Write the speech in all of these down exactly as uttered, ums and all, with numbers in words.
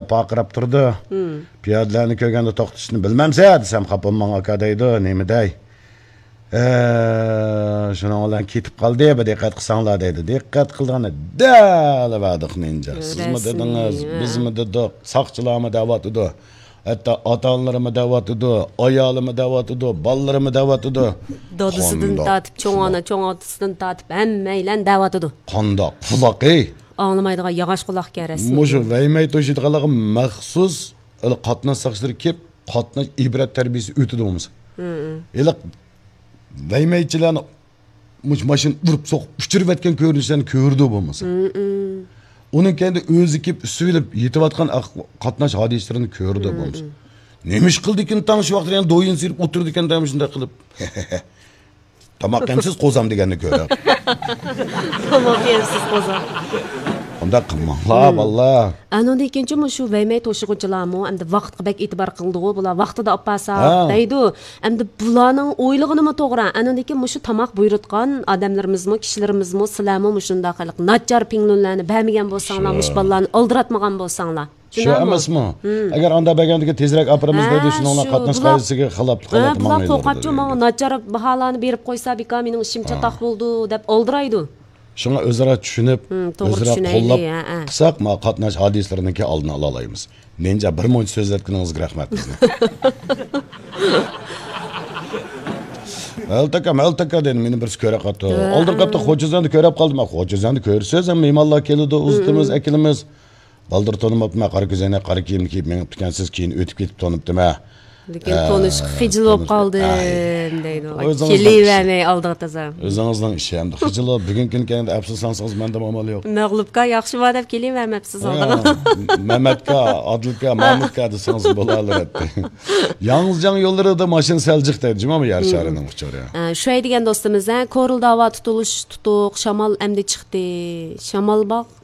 پارقىراپ تۇرىدۇ. پىيادىلەرنى كۆرگەندە توختىشىنى بىلمەمسە دېسەم، خاپا بولماڭ ئاكا دەيدۇ. نېمە دەي؟ ھە، شۇنىڭ بىلەن كېتىپ قالدى، بىر دىققەت قىلساڭلار دەيدۇ. دىققەت قىلغاندا دەل بەردۇق نىنجا. سىزمۇ دېدىڭىز، بىزمۇ دېدۇق، ساقچىلارمۇ دەۋاتىدۇ. ھەتتا ئاتا-ئانىلىرىمۇ دەۋاتىدۇ، ئايالىمۇ دەۋاتىدۇ، بالىلىرىمۇ دەۋاتىدۇ. دادىسىدىن تارتىپ، چوڭ ئانا، چوڭ ئاتىسىدىن تارتىپ ھەممەيلەن دەۋاتىدۇ. قانداق قۇلاق، ئەي؟ ئاڭلىمايدىغان ياغاچ قۇلاقكەن رەسمىي. مۇشۇ ۋەيمەي توشۇيدىغانلارغا مەخسۇس ھېلى قاتناش ساقچىلىرى كېلىپ، قاتناش ئىبرەت تەربىيىسى ئۆتىدۇ بولمىسا. ھېلى ۋەيمەيچىلەرنى مۇشۇ ماشىنا ئۇرۇپ سوقۇپ ئۇچۇرۇۋەتكەن كۆرۈنۈشلەرنى كۆرىدۇ بولمىسا. ئۇنىڭ كەينىدە ئۆزى كېلىپ ئۈستىلىپ يېتىۋاتقان ئەق-، قاتناش ھادىسىلىرىنى كۆرىدۇ بولمىسا. نېمە ئىش قىلدىكىن تاڭ شۇ ۋاقىتتا يەنە دويۇن سىيرىپ ئولتۇرىدىكەن دەيمەن شۇنداق قىلىپ. تاماق يەمسىز قوزام دېگەننى كۆرۈڭ. تاماق يەمسىز قوزام. ئۇنداق قىلماڭلار، بالىلار. ئانىڭدىن كېيىنچە مۇشۇ ۋەيمەي توشۇغۇچىلارمۇ ئەمدى ۋاقىتقا بەك ئېتىبار قىلىدىغۇ، بۇلار ۋاقتىدا ئاپارساق دەيدۇ. ئەمدى بۇلارنىڭ ئويلىغىنىمۇ توغرا. ئانىڭدىن كېيىن مۇشۇ تاماق بۇيرۇتقان ئادەملىرىمىزمۇ، كىشىلىرىمىزمۇ، سىلەرمۇ مۇشۇنداق خەلق ناچار پىڭلۈنلەرنى بەرمىگەن بولساڭلار، مۇشۇ بالىلارنى ئالدىراتمىغان بولساڭلار. شۇ ئەمەسمۇ؟ ئەگەر ئانداق بەرگەندىكىن تېزرەك ئاپىرىمىز دەيدۇ، شۇنىڭ بىلەن قاتناش قائىدىسىگە خىلاپلىق قىلىپ بۇلار قورقاتچۇ، ماڭا ناچار باھالارنى بېرىپ قويسا، بىكار مېنىڭ ئىشىم چاتاق بولىدۇ دەپ ئالدىرايدۇ. شۇڭا ئۆزئارا چۈشىنىپ، ئۆزئارا قوللاپ قىلساق، ما قاتناش ھادىسىلىرىنىڭكى ئالدىنى ئالالايمىز. نىنجا، بىر مۇنچە سۆزلەتكىنىڭىزگە رەھمەت بىزنى. مەلتەكە، مەلتەكە دېدى، مېنى بىرسى كۆرۈپ قاپتۇ. ئالدىن قاپتا خوجىزەندە كۆرۈپ قالدىم. خوجىزەندە كۆرسىز، مېھمانلار كېلىدۇ، ئۇزىتىمىز، ئەكېلىمىز. بالدۇر تونۇماپتىمەن، قارا كۆزەينەك، قارا كىيىمنى كىيىپ مېڭىپتىكەنسىز، كېيىن ئۆتۈپ كېتىپ تونۇپتىمەن. لېكىن تونۇشقا خىجىل بولۇپ قالدىم دەيدۇ. كېلىۋەرمەي ئالدىغا تازا. ئۆزىڭىزنىڭ ئىشى ئەمدى. خىجىل بولۇپ، بۈگۈنكى كۈنى كەينىدە ئەپسۇسلانسىڭىز، مەندىمۇ ئامال يوق. مەغلۇپكا ياخشىما دەپ كېلىۋەرمەپسىز ئالدىغا. مەمەتكا، ئادىلكا، مامۇتكا دېسىڭىز بولالىرەتتى. ياڭزىجياڭ يوللىرىدا ماشىنا سەل جىق دەيدۇ، جۇمۇ يەر شارىنىڭ ئۇچۇرى. ئە، شۇ دېگەن دوستىمىز، ھە، كورلىدا ھاۋا تۇتۇلۇش تۇتۇق، شامال ئەمدى چىقتى. شامال باغ.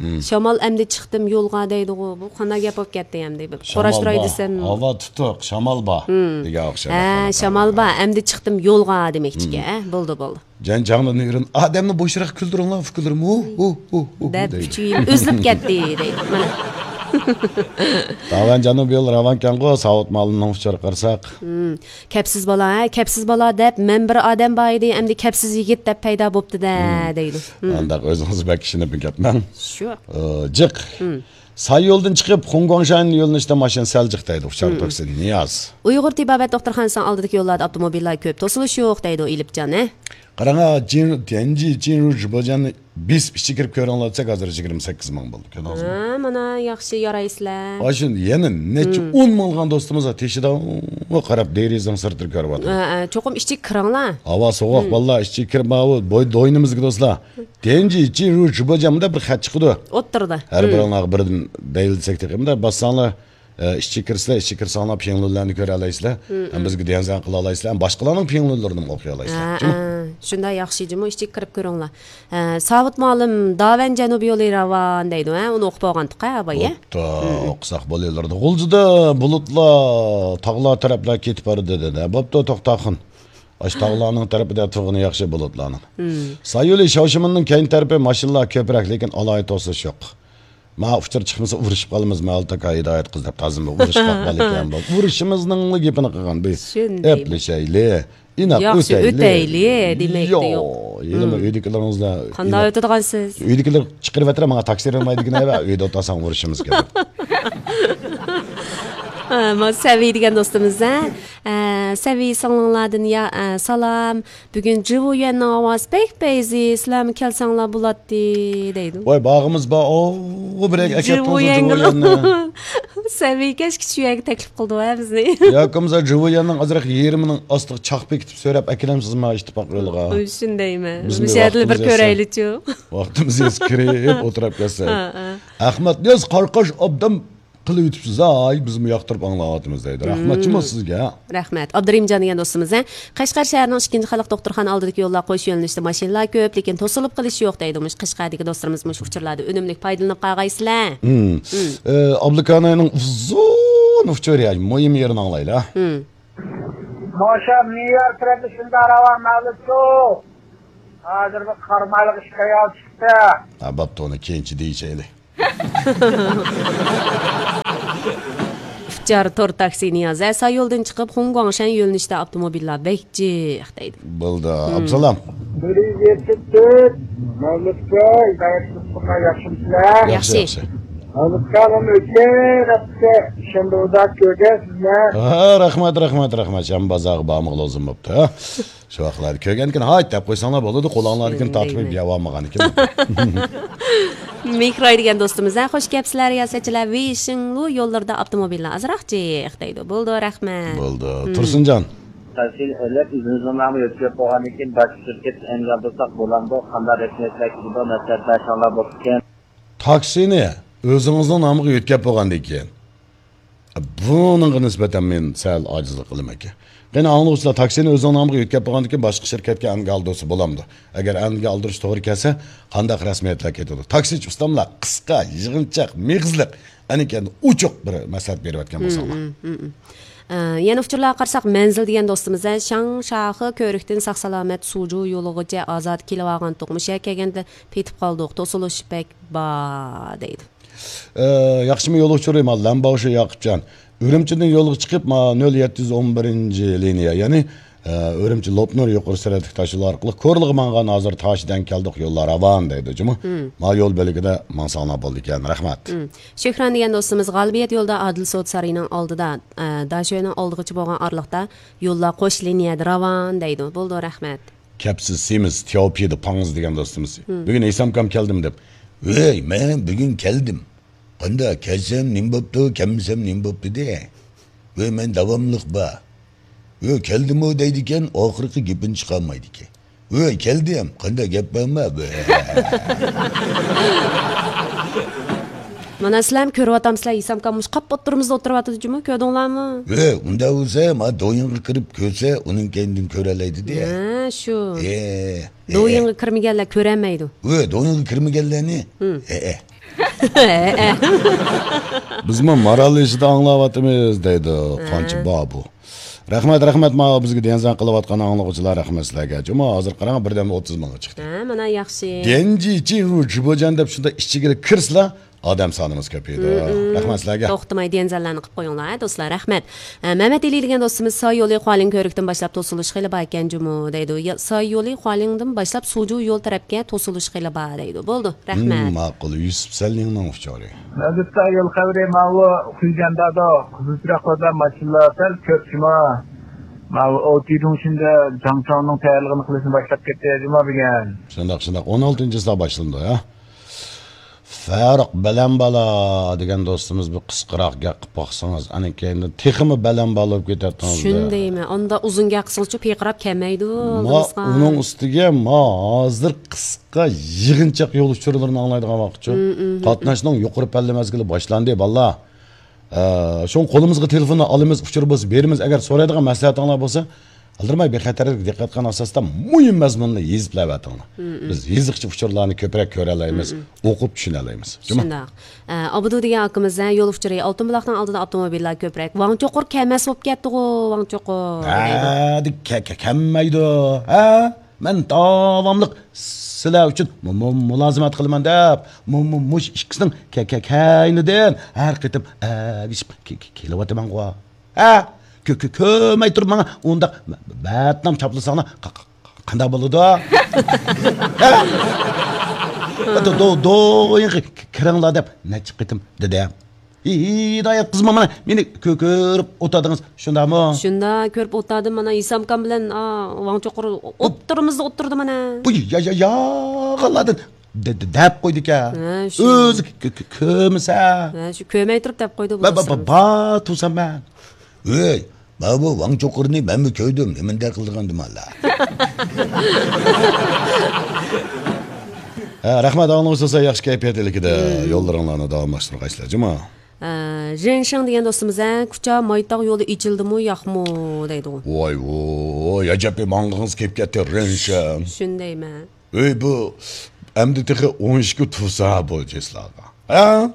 شامال ئەمدى چىقتىم يولغا دەيدىغۇ. بۇ قانداق گەپ بولۇپ كەتتى ئەمدى؟ بىر قوراشتۇراي دېسەم. ھاۋا تۇتۇق، شامال بار دېگەن ئوخشايدۇ. ھە، شامال بار، ئەمدى چىقتىم يولغا دېمەكچىكەن. ھە، بولدى، بولدى. جەنجاڭدا نېرىن ئادەمنى بوشراق كۈلدۈرۈڭلار، فىكىرلىرىم ھۇ، ھۇ، ھۇ، ھۇ دەپ دەيدۇ. ئۈچ يىل ئۈزۈلۈپ كەتتى دەيدۇ. مانا. داۋەن جەنۇبىي يول راۋانكەنغۇ، ساۋۇت مالىنىڭ ئۇچۇرىغا قارىساق. كەپسىز بالا، ھە، كەپسىز بالا دەپ مەن بىر ئادەم بار ئىدى، ئەمدى كەپسىز يىگىت دەپ پەيدا بوپتۇ-دە، دەيدۇ. ئانداق ئۆزىڭىز بەك ئىشىنىپ كەتمەڭ. شۇ. ئى، جىق. ساي يولدىن چىقىپ، خۇڭگۇاڭشان يۆنىلىشتە ماشىنا سەل جىق دەيدۇ، ئۇچار توكسى نىياز. ئۇيغۇر تېبابەت دوختۇرخانىسىنىڭ ئالدىدىكى يوللاردا ئاپتوموبىللار كۆپ، توسۇلۇش يوق دەيدۇ ئېلىپجان، ھە. قاراڭا، جىن، تيەنجى، جىنرۇ جىباجاننى بېسىپ ئىچى كىرىپ كۆرۈڭلار دېسەك، ھازىر يىگىرمە سەككىز مىڭ بولدى. كۆردىڭىزمۇ؟ ھە، مانا ياخشى يارايسىلەر. ئاشۇ يەنە نەچچە ئون مىڭلىغان دوستىمىز تېشىدا قاراپ دېرىزىنىڭ سىرتىدا كۆرۈۋاتىدۇ. ھە، ھە، چوقۇم ئىچىگە كىرىڭلار. ھاۋا سوغۇق، باللا، ئىچىگە كىرىپ، ماۋۇ بوي-، دوينىمىزگە دوستلار. تيەنجى، جىنرۇ، جىباجان دەپ بىر خەت چىقىدۇ. ئوتتۇرىدا. ھەر بىرىڭلارغا بىردىن دەيلىسەك تېخى. مۇنداق باسساڭلار، ئە، ئىچىگە كىرسىلەر، ئىچىگە كىرسەڭلار پىڭلۇنلارنى كۆرەلەيسىلەر. ھەم بىزگە ديەنزەن قىلالايسىلەر، ھەم باشقىلارنىڭ پىڭلۇنلىرىنىمۇ ئوقۇيالايسىلەر. ھە، جۇمۇ. ھە، شۇنداق ياخشى جۇمۇ، ئىچىگە كىرىپ كۆرۈڭلار. ھە، ساۋۇت مۇئەللىم، داۋەن جەنۇبىي يولى راۋان دەيدۇ، ھە، ئۇنى ئوقۇپ بولغانتۇق، ھە، بايا. بوپتۇ، ئوقۇساق بولۇۋېرىدۇ. غۇلجىدا بۇلۇتلار تاغلار تەرەپلەر كېتىپ بارىدۇ دېدى. بوپتۇ، توختاخۇن. ئاشۇ تاغلارنىڭ تەرىپىدە تۇرغىنى ياخشى بۇلۇتلارنىڭ. سايولى شاۋشىمىننىڭ كەينى تەرىپى ماشىنىلار كۆپرەك، لېكىن ئالاھىدە توسۇلۇش يوق. ما ئۇچۇر چىقمىسا ئۇرۇشۇپ قالىمىز، مەلتاكا ھىدايەت قىز دەپ تازىمۇ ئۇرۇشقاق بالا ئىكەن بۇ. ئۇرۇشىمىزنىڭلا گېپىنى قىلغان بۇ. شۇنداق. ئەپلىشەيلى، ئىناق ياخشى ئۆتەيلى. ئۆتەيلى دېمەكتە يوق. يوق. ھېلىمۇ ئۆيدىكىلىرىڭىزدا قانداق ئۆتىدىغانسىز؟ ئۆيدىكىلەر چىقىرىۋەترە، ماڭا تاكسى بەرمەيدىكەن، ئەۋە ئۆيدە ئولتۇرساڭ ئۇرۇشىمىز كېلىپ. ھە، ما سەۋىي دېگەن دوستىمىز، ھە؟ ئە، سەۋىي سىڭلىڭلاردىن يا، ئە، سالام. بۈگۈن جىۋۇيۈەننىڭ ھاۋاسى بەك پەيزى، سىلەرمۇ كەلسەڭلار بولاتتى، دەيدۇ. ۋاي، باغىمىز بار، ئو، بىرەرگە ئەكەپ جىۋۇيۈەنگە. سەۋىي كەچكىچە شۇ يەرگە تەكلىپ قىلدى ۋە بىزنى. يا، كۆمزە جىۋۇيۈەننىڭ ئازراق يېرىمىنىڭ ئاستىغا چاق بېكىتىپ سۆرەپ ئەكېلەمسىزما ئىتتىپاق يولىغا؟ شۇندايمۇ. بىزمۇ مۇشۇ يەردىلا بىر كۆرەيلىچۇ. ۋاقتىمىز يەتسە كىرىپ ئولتۇرۇپ كەتسەك. ھە، ھە. ئەخمەت نىياز قارقاش ئابدان قىلىۋېتىپسىز ھاي، بىزمۇ ياقتۇرۇپ ئاڭلاۋاتىمىز دەيدۇ. رەھمەت جۇمۇ سىزگە. رەھمەت. ئابدۇرېھىمجان دېگەن دوستىمىز، ھە؟ قەشقەر شەھىرىنىڭ ئىككىنچى خەلق دوختۇرخانا ئالدىدىكى يوللار قوش يۆنىلىشتە ماشىنىلار كۆپ، لېكىن توسۇلۇپ قېلىش يوق دەيدۇ. مۇشۇ قەشقەردىكى دوستلىرىمىز مۇشۇ ئۇچۇرلاردىن ئۈنۈملۈك پايدىلىنىپ قالغايسىلەر. ئە، ئابلىكاناينىڭ ئۇزۇن ئۇچۇرى، مۇھىم يېرىنى ئاڭلايلى. ماشا مىيار تەرەپلىشىندە راۋان مەلۇتۇ. ھازىر بىر قارامايلىق ئىش تەييار چىقتى. ھە، بوپتۇ، ئۇنى كېيىنچە دېيىشەيلى. جار تور تاكسى نىياز. ھە، ساي يولدىن چىقىپ، خۇڭگۇاڭشەن يۆنىلىشتە ئاپتوموبىللار بەك جىق دەيدۇ. بولدى. مم. ئابدۇسالام. بىر يۈز يەتتە تۆت، مەۋلۇتكا، ھىدايەت قىلسۇنلار، ياخشىمۇسىلەر؟ ياخشى، ياخشى. ياخشى. مەۋلۇتكا، مانا ئۆتكەن ھەپتە شەنبە بازار كۆرگەن سىزنى. ھە، رەھمەت، رەھمەت، رەھمەت. شەنبە بازارغا بارمىغىلى ئۇزۇن بوپتۇ، ھە. شۇ ۋاقىتلاردا كۆرگەندىكىن، ھايت دەپ قويساڭلار بولىدۇ، قولۇڭلاردىكىن تارتىپ دەيمەن. يەۋالمىغانىكەن. مېھراي دېگەن دوستىمىز، ھە، خوش كەپسىلەر رىياسەتچىلەر، ۋېيشىڭلۇ يوللىرىدا ئاپتوموبىللار ئازراق جىق دەيدۇ. بولدى، رەھمەت. بولدى. مم. تۇرسۇنجان. تاكسىنى ئېلىپ، ئۆزىمىزنىڭ نامىغا يۆتكەپ بولغاندىن كېيىن، باشقا شىركەتتىن ئەنگە ئالدۇرساق بولامدۇ؟ قانداق رەسمىيەتلەر كېلىدۇ؟ مەسلىھەت بەرسەڭلار بوپتىكەن. تاكسىنى ئۆزىڭىزنىڭ نامىغا يۆتكەپ بولغاندىن كېيىن، بۇنىڭغا نىسبەتەن مەن سەل ئاجىزلىق قىلىمەنكەن. قېنى، ئاڭلىغۇچىلار، تاكسىنى ئۆزىنىڭ نامىغا يۆتكەپ بولغاندىن كېيىن باشقا شىركەتكە ئەنگە ئالدۇرسا بولامدۇ؟ ئەگەر ئەنگە ئالدۇرۇش توغرا كەلسە، قانداق رەسمىيەتلەر كېتىدۇ؟ تاكسىچى ئۇستاملار قىسقا، يىغىنچاق، مېغىزلىق، ئەنىكەن ئوچۇق بىر مەسلىھەت بېرىۋەتكەن بولساڭلار. مم، مم، مم. ئە، يەنە ئۇچۇرلارغا قارىساق، مەنزىل دېگەن دوستىمىز، ھە، شاڭشاخې كۆۋرۈكتىن ساق-سالامەت سۇجۇ يولىغىچە ئازادە كېلىۋالغانتۇق. مۇشۇ يەرگە كەلگەندە پېتىپ قالدۇق، توسۇلۇش بەك بار دەيدۇ. ئە، ياخشىمۇ يول ئۇچۇرى، ما، لەنباۋشى ياقۇپجان. ئۈرۈمچىدىن يولغا چىقىپ، ما، نۆل يەتتە يۈز ئون بىرىنچى لىنىيە، يەنى، ئە، ئۈرۈمچى لوپنۇر يۇقىرى سۈرئەتلىك تاشيولى ئارقىلىق كورلىغا ماڭغان، ھازىر تاشىدەن كەلدۇق، يوللار راۋان دەيدۇ، جۇمۇ. مم. ما يول بۆلىكىدە ماڭساڭلار بولىدىكەن، رەھمەت. مم. شۆھران دېگەن دوستىمىز، غالىبىيەت يولىدا ئادىل سودا سارىيىنىڭ ئالدىدا، ئە، داشۆنىڭ ئالدىغىچە بولغان ئارىلىقتا يوللار قوش لىنىيەدە راۋان دەيدۇ. بولدى، رەھمەت. كەپسىز سېمىز، تياۋپيېدە پاڭز دېگەن دوستىمىز. مم. بۈگۈن ھېسامكام كەلدىم دەپ. ۋەي، مەن بۈگۈن كەلدىم. قانداق، كەلسەم نېمە بوپتۇ، كەلمىسەم نېمە بوپتۇ دە. ۋەي، مەن داۋاملىق بار. ۋەي، كەلدىمۇ دەيدىكەن، ئاخىرقى گېپىنى چىقارمايدىكەن. ۋەي، كەلدىم، قانداق گەپ بارمۇ؟ ۋەي. مانا سىلەرمۇ كۆرۈۋاتامسىلەر، ھېسامكام مۇشۇ قاپقا ئوتتۇرىمىزدا ئولتۇرۇۋاتىدۇ جۇمۇ، كۆردۈڭلارمۇ؟ ۋەي، ئۇنداق بولسا، ما دويىڭغا كىرىپ كۆرسە، ئۇنىڭ كەينىدىن كۆرەلەيدۇ دە. ھە، شۇ. ئە، ئە، دويىڭغا ئە. كىرمىگەنلەر كۆرەلمەيدۇ. ۋەي، دويىڭغا كىرمىگەنلەرنى. ھىم. ئە، ئە. بىزمۇ مارال ئىچىدە ئاڭلاۋاتىمىز دەيدۇ. ھە. قانچە بابۇ. رەھمەت، رەھمەت، ماۋۇ بىزگە دېڭزەڭ قىلىۋاتقان ئاڭلىغۇچىلار، رەھمەت سىلەرگە. جۇمۇ ھازىر قاراڭ، بىردەنبىر ئوتتۇز مىڭغا چىقتى. ھە، مانا ياخشى. دېنجىچى ۋۇ جىبوجان دەپ شۇنداق ئىچىگىلا كىرسىلا، ئادەم سانىمىز كۆپىيىدۇ. ھىم، ھىم. رەھمەت سىلەرگە. توختىماي دېڭزەڭلەرنى قىپ قويۇڭلار، ھە، دوستلار، رەھمەت. ئە، مەمەت ئېلى دېگەن دوستىمىز، ساي يولى خۇالىڭ كۆۋرۈكتىن باشلاپ توسۇلۇش خېلى بار ئىكەن جۇمۇ دەيدۇ. يا، ساي يولى خۇالىڭدىن باشلاپ سۇجۇ يول تەرەپكە توسۇلۇش خېلى بار دەيدۇ. بولدى، رەھمەت. مم، ماقۇل، يۈسۈپ سەللىڭنىڭ ئۇچۇرى. مەۋجۇتتا يول خەۋىرى ماۋۇ خۇيجەندادۇ، قىزىل چىراغ قويدا ماشىنىلار سەل كۆپ شۇما. ماۋۇ ئوتىدۇڭ شىندە جاڭچاڭنىڭ تەييارلىقىنى قىلىشنى باشلاپ كەتتى جۇما بۈگۈن. شۇنداق، شۇنداق. ئون ئالتىنچىسىدا باشلىنىدۇ، ھە؟ فەرۇق بەلەن بالا دېگەن دوستىمىز بىر قىسقىراق گەپ قىلىپ باقسىڭىز، ئەنە كەينىدىن تېخىمۇ بەلەن بالا بولۇپ كېتەتتىڭىز. شۇندايمەن. ئاندا ئۇزۇن گەپ قىلسىڭىزچۇ پىرقىراپ كەلمەيدۇ، ما، بىلىسىغا. ئۇنىڭ ئۈستىگە ما ھازىر قىسقا يىغىنچاق يول ئۇچۇرلىرىنى ئاڭلايدىغان ۋاقىتچۇ. مم، مم، مم. قاتناشنىڭ يۇقىرى پەللە مەزگىلى باشلاندى، بالىلار. ئە، شۇڭا قولىمىزغا تېلېفوننى ئالىمىز، ئۇچۇر بولسا بېرىمىز. ئەگەر سورايدىغان مەسلىھەتىڭلار بولسا، ئالدىرىماي بىخەتەرلىككە دىققەت قىلغان ئاساستا مۇھىم مەزمۇننى يېزىپ بېرىۋېتىڭلار. مم، مم. بىز يېزىقچە ئۇچۇرلارنى كۆپرەك كۆرەلەيمىز، مم، مم. ئوقۇپ چۈشىنەلەيمىز. جۇمۇ. شۇنداق. ئە، ئابدۇ دېگەن ئاكىمىز، ھە، يول ئۇچۇرى، ئالتۇن بۇلاقنىڭ ئالدىدا ئاپتوموبىللار كۆپرەك. ۋاڭ چوقۇر كەلمەس بولۇپ كەتتىغۇ، ۋاڭ چوقۇر دەيدۇ. ھە، دە-، كە-، كە-، كەلمەيدۇ. ھە؟ مەن داۋاملىق سىلەر ئۈچۈن مۇ-، مۇ-، مۇلازىمەت قىلىمەن دەپ، مۇ-، مۇ-، مۇشۇ ئىككىسىنىڭ كە-، كە-، كەينىدىن ھەر قېتىم ئەگىشىپ كە-، كە-، كېلىۋاتىمەنغۇ. ھە؟ كۆ-، كۆ-، كۆرمەي تۇرۇپ ماڭا ئۇنداق بەتنام چاپلىساڭلار ق-، ق-، ق-، قانداق بولىدۇ؟ ھە؟ دو-، دو-، دويىڭغا ك-، كىرىڭلار دەپ نەچچە قېتىم دېدىم. ھىدايەت قىزمۇ مانا مېنى كۆ-، كۆرۈپ ئولتۇردىڭىز، شۇنداقمۇ؟ شۇنداق، كۆرۈپ ئولتۇردۇم، مانا ھېسامكام بىلەن، ئا، ۋاڭ چوقۇر ئوتتۇرىمىزدا ئولتۇردى مانا. بۇ يا-، يا-، يالغانلاردىن دە-، دە-، دەپ قويدىكەن. ھە، شۇ. ئۆزى كۆ-، كۆ-، كۆرمىسە. ھە، شۇ كۆرمەي تۇرۇپ دەپ قويدى بۇ. با-، با-، با-، بار تۇرسام مەن. ۋەي، ماۋۇ ۋاڭ چوقۇرنى مەنمۇ كۆردۈم، نېمىندەك قىلىدىغان دېمەنلا. ھە، رەھمەت، ئاڭلىغۇچى سىلەر ياخشى كەيپىيات ئىلكىدە يوللىرىڭلارنى داۋاملاشتۇرغايسىلەر، جۇما. ھە، رېنشىڭ دېگەن دوستىمىز، ھە، كۇچا مايتاغ يولى ئېچىلدىمۇ، ياقمۇ دەيدىغۇ. ۋاي، ۋاي، ئەجەبكى ماڭغىڭىز كېلىپ كەتتى، رېنشىڭ. شۇندايمەن. ئۆي بۇ ئەمدى تېخى ئون ئىككى تۇرسا بولىدۇ سىلەرگە. ھە؟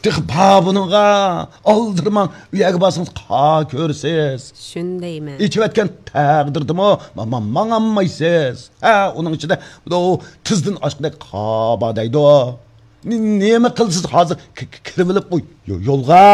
تېخى بار بۇنىڭغا. ئالدىرىماڭ، ئۇ يەرگە بارسىڭىز قا كۆرىسىز. شۇندايمەن. ئېچىۋەتكەن تەقدىردىمۇ ما-، ما-، ماڭالمايسىز. ھە، ئۇنىڭ ئىچىدە بۇ تىزدىن ئاشقۇدەك قا بار دەيدۇ. نې-، نېمە قىلىسىز ھازىر ك-، ك-، كىرىۋېلىپ ئۇ يو-، يولغا؟